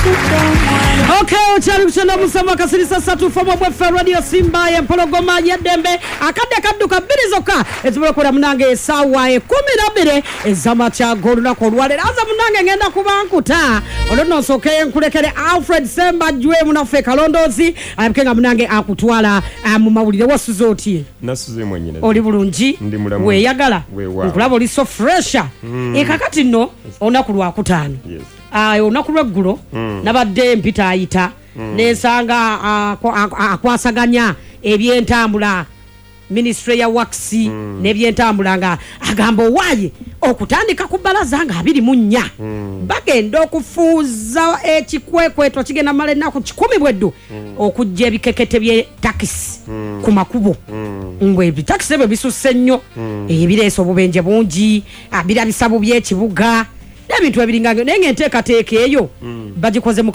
Okay, okyali kukyenda musama kasirisa satu fomo bweffe Radio Simba y'empologoma y'eddembe. Akadde kadduka bbiri zokka ezisobola okubeera munange essaawa 12 ez'amakya g'olunaku olwaleero. Aza munange ngenda kuba nkuta olwo nno nsooke nkulekere Alfred Sembajwe munaffe kalondoozi alabike nga munange akutwala mu mawulire. Wasuze otye? Nasuze mwenyina. Oli bulungi? Ndi mulamu. Weeyagala? Weewaawo. Nkulaba oli so fresha. Ekakati nno olunaku lwakutaano. Yes. Olunaku lweggulo nabadde mpita ayita nensanga akwasaganya ebyentambula, minisitule ya works n'ebyentambula, nga agamba owaaye okutandika ku bbalaza nga 24 bagenda okufuuza ekikwekweto kigenda mala ennaku 100 bweddu okujja ebikekete by'etakisi ku makubo, ngo ebitakisi ebyo bisusse nnyo, ebireesa obubenje bungi, birabisa bubi ekibuga n'ebintu ebiringa, naye ng'enteekateeka eyo bagikoze mu